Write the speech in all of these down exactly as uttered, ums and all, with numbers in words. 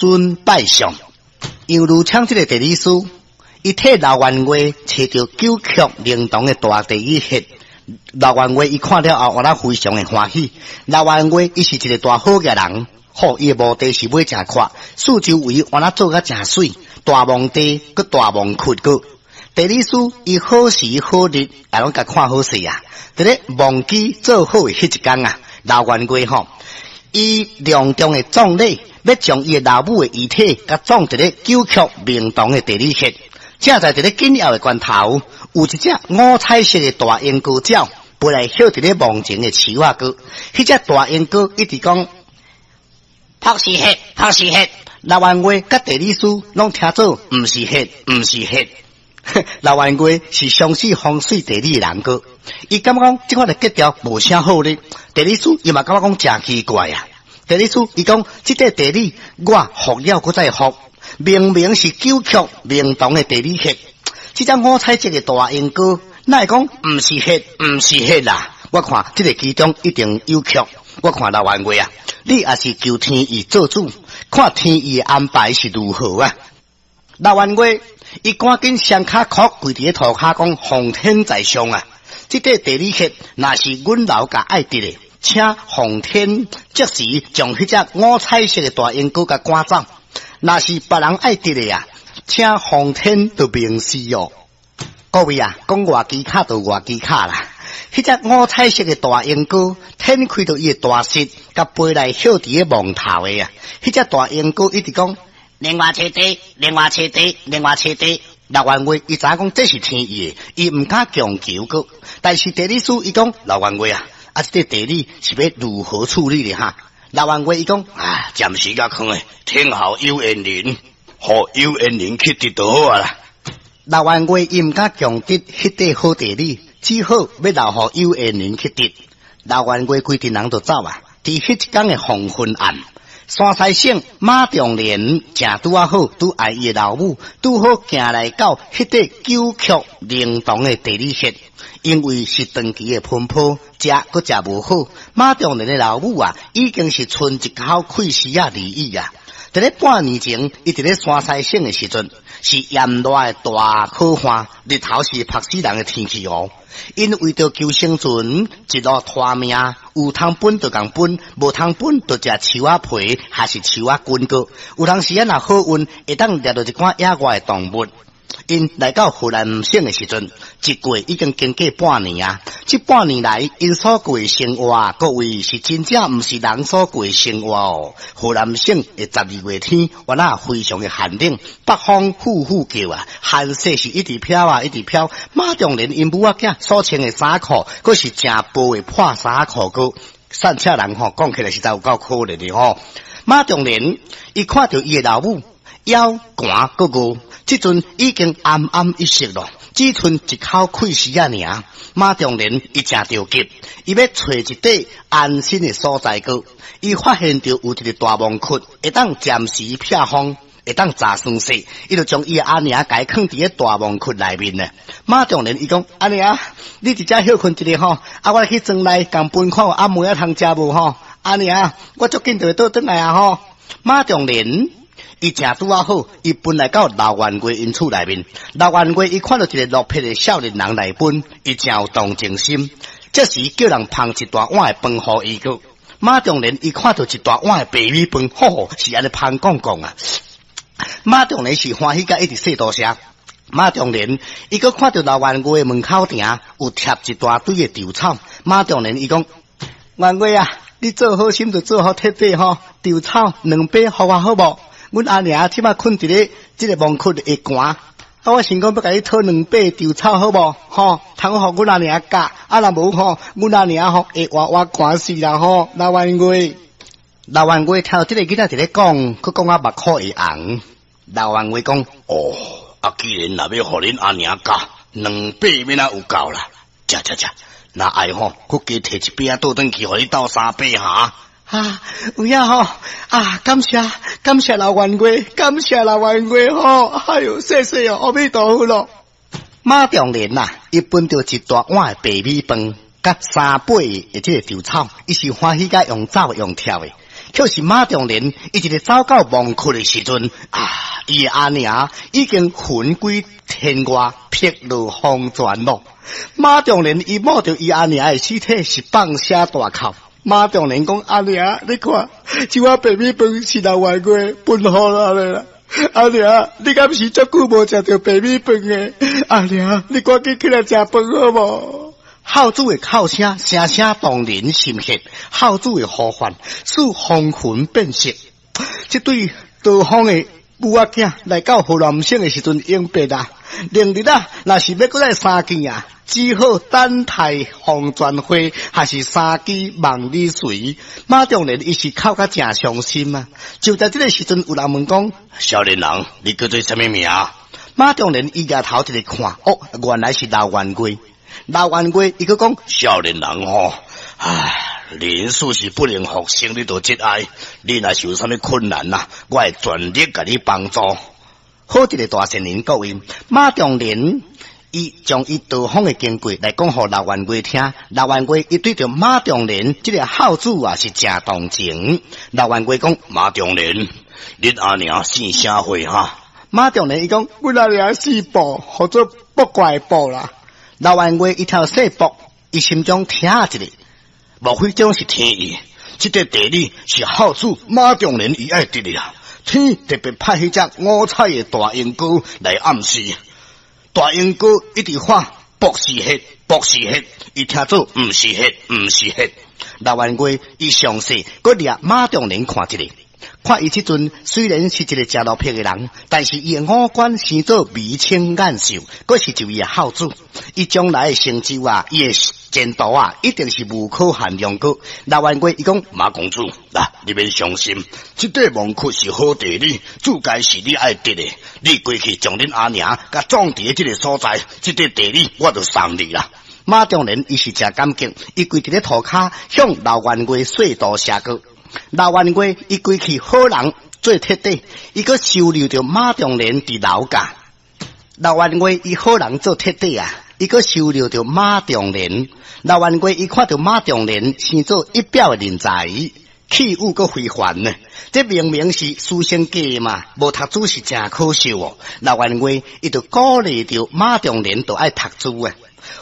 尊拜相。楊汝昌這个地理師，伊替劉元月揣著九曲靈堂的大地理穴。劉元月伊看了後，原來非常的歡喜。劉元月伊是一个大好額人，好伊的墓地是買誠闊，四周圍原來做甲誠媠，大墓地閣大墓窟閣。地理師伊好時好日，也攏共看好勢啊！佇咧墓基做好的彼一工啊，劉元月吼，伊隆重的葬禮，欲將伊的老母的遺體，共葬佇咧九曲明堂的地理穴。正在佇咧緊要的關頭，有一隻五彩色的大鸚哥鳥飛來歇佇咧墓前的樹仔閣。彼隻大鸚哥一直講：朴是血，朴是血。劉元月佮地理師攏聽做毋是血，毋是血。劉元月是相信風水地理的人閣，伊感覺講這款的格調無啥好咧。地理師伊嘛感覺講誠奇怪啊。地理師伊講，這塊地理我復了閣再復，明明是九曲明堂的地理穴，這隻五彩色的大鸚哥，哪會講毋是血，毋是血啦？我看這个其中一定有曲。我看劉元月啊，你也是求天意做主，看天意的安排是如何啊？劉元月伊趕緊雙跤叩跪佇咧塗跤，講奉天在上啊！這塊地理穴若是阮老家愛得的，請奉天即時將彼隻五彩色的大鸚哥共趕走；若是別人愛得的啊，請奉天就明示哦。各位啊，講外機卡就外機卡啦。彼隻五彩色的大鸚哥展開著伊的大翅，共飛來歇佇咧墓頭的啊！彼隻大鸚哥一直講。另外揣地，另外揣地，另外揣地。劉元月伊知影講這是天意的，伊毋敢強求閣。但是地理師伊講，劉元月啊，啊，這个地理是欲如何處理的哈？劉元月伊講啊，暫時共囥的，天後有緣人，予有緣人去得就好啊啦。劉元月伊毋敢強得彼塊好地理，只好欲留予有緣人去得。劉元月規陣人就走啊，佇彼一工的黃昏暗。山西省馬仲連正拄仔好，拄愛伊的老母，拄好行來到彼塊九曲靈堂的地理穴，因為是長期的奔波，食閣食無好。馬仲連的老母啊，已經是賰一口氣絲仔而已啊！佇咧半年前，伊佇咧山西省的時陣，是炎熱的大苦旱，日頭是曝死人的天氣哦。𪜶為著求生存，一路拖命，有通分就共分，無通分就食樹仔皮，還是樹仔根閣。有當時仔若好運，會當獵著一寡野外的動物。𪜶來到河南省的時陣，一過已經經過半年啊！這半年來，𪜶所過的生活，各位是真正毋是人所過的生活哦。河南省的十二月天，原來非常的寒冷，北風呼呼叫啊，寒雪是一直飄啊，一直飄。馬仲連𪜶母仔囝所穿的衫褲，閣是誠薄的破衫褲，閣散赤人吼，講起來實在有夠可憐的吼。馬仲連伊看著伊的老母枵寒閣餓。這陣已經奄奄一息咯，只賰一口氣絲仔爾。馬仲連伊誠著急，伊欲揣一塊安身的所在閣。伊發現著有一个大墓窟，會當暫時避風，會當遮霜雪。伊就將伊的阿娘共伊囥佇咧大墓窟內面呢。馬仲連伊講：阿娘，你佇遮歇睏一下吼，啊，我去庄內共分看有暗暝仔通食無吼？阿娘，我足緊就會倒轉來啊吼。馬仲連。伊誠拄仔好，伊分來到劉元月𪜶厝內面。劉元月伊看著一个落魄的少年人來分，伊誠有同情心，這時叫人捧一大碗的飯予伊閣。馬仲連伊看著一大碗的白米飯，吼，是按呢芳講講啊。馬仲連是歡喜甲一直說多謝。馬仲連伊閣看著劉元月的門口埕有貼一大堆的稻草。馬仲連伊講：元月啊，你做好心就做好徹底吼，稻草兩把予我好無？阮阿娘這擺睏佇咧這个墓窟會寒，啊！我想講欲共你討兩把稻草好無？吼，通予阮阿娘蓋，啊若無吼，阮阿娘吼會活活寒死啦吼！劉元月，劉元月聽著這个囡仔佇咧講，閣講啊目眶會紅。劉元月講：哦，啊，既然若欲予恁阿娘蓋，兩把欲哪有夠啦？食食食，若愛吼，閣加提一把仔倒轉去，予你鬥三把哈！啊，有影吼！啊，感謝感謝劉元月，感謝劉元月吼！哎喲，謝謝哦，阿彌陀佛咯。馬仲連啊，伊分著一大碗的白米飯，佮三把的這个稻草，伊是歡喜甲用走用跳的。卻是馬仲仁伊一个走到墓窟的時陣，啊，伊的阿娘已經魂歸天外，碧落黃泉咯。馬仲仁伊摸著伊阿娘的屍體是放聲大哭。馬仲仁講：阿娘，你看，這碗白米飯是老員外分予咱的啦。阿娘，你敢是足久無食著白米飯的？阿娘，你趕緊起來食飯好無？孝子的哭聲聲聲動人心血，孝子的呼喚使風雲變色。這對逃荒的母仔囝來到河南省的時陣永別啊！明日啊，若是欲閣來相見啊，只好等待黃泉會，還是三更望你隨。馬仲仁伊是哭甲誠傷心啊！就在這个時陣，有人問講：少年人，你叫做啥物名？馬仲仁伊舉頭一个看，哦，原來是劉元貴。劉元貴伊閣講：少年人吼，唉，人事是不能復生，你著節哀。你若是有啥物困難啊，我會全力共你幫助。好一个大善人，各位，馬仲仁伊將伊逃荒的經過來講予劉元貴聽。劉元貴伊對著馬仲仁這个孝子啊是誠同情。劉元貴講：馬仲仁，恁阿娘姓啥貨哈？馬仲仁伊講：阮阿娘姓卜，號做卜怪卜啦。劉元貴伊聽姓卜，伊心中聽一下，莫非這是天意？這个地理是孝子馬仲仁伊愛得的啊！天特別派彼隻五彩的大鸚鵡來暗示，大鸚鵡一直喊卜是血，卜是血，伊聽做毋是血，毋是血。劉元貴伊詳細閣掠馬仲仁看一下，看伊這陣雖然是一个誠落魄的人，但是伊的五官生做眉清眼秀，閣是一位孝子。伊將來的成就啊，伊的前途啊，一定是無可限量個。劉元貴伊講馬公子，來，你免傷心，這塊墓窟是好地理，主該是你愛得的。你過去將恁阿娘共葬佇這个所在，這塊地理我就送你啦。馬仲仁伊是誠感激，伊跪佇咧塗跤向劉元貴說多謝過。劉元貴伊歸去好人做徹底，伊閣收留著馬仲仁佇樓架。劉元貴伊好人做徹底啊，伊閣收留著馬仲仁。劉元貴伊看著馬仲仁生做一表的人才，氣宇閣非凡呢。這明明是書生家嘛，無讀書是誠可惜哦。劉元貴伊就鼓勵著馬仲仁，就愛讀書啊。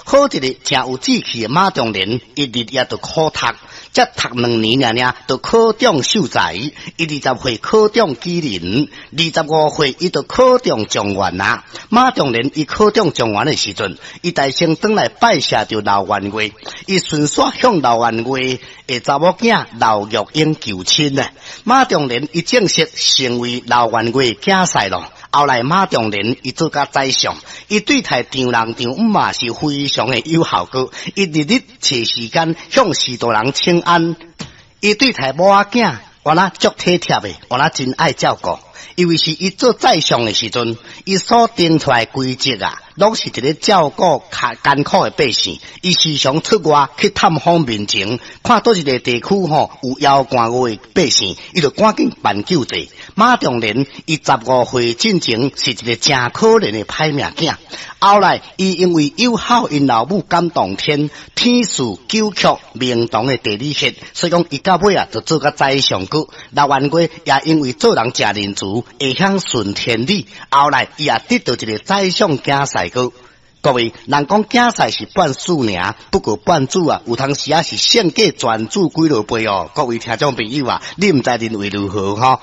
好一個誠有志氣的馬仲仁，伊日夜就苦讀，才讀兩年爾爾，就考中秀才。伊二十歲考中舉人，二十五歲伊就考中狀元啊。馬仲仁伊考中狀元的時陣，伊大聲轉來拜謝著劉元貴，伊順紲向劉元貴的查某囝劉玉英求親啊。馬仲仁伊正式成為劉元貴囝婿咯。後來馬仲仁伊做甲宰相，伊對待丈人丈姆嘛是非常的有效果。伊日日揣時間向序大人請安，伊對待某仔囝，原來足體貼的，原來真愛照顧。因為是伊做宰相的時陣，伊所定出來規則啊，攏是一个照顧較艱苦的百姓。伊時常出外去探訪民情，看佗一个地區吼有枵寒餓的百姓，伊就趕緊辦救濟。馬仲仁伊十五歲進前是一个誠可憐的歹命囝，後來伊因為有孝𪜶老母感動天，天賜九曲明堂的地理學，所以講伊到尾啊就做甲宰相閣。劉元貴也因為做人誠仁慈，會曉順天理，後來伊也得到一个宰相囝婿閣。各位，人講囝婿是半子爾，不過半子啊，有當時啊是勝過全子幾落倍哦。各位聽眾朋友啊，你毋知認為如何吼？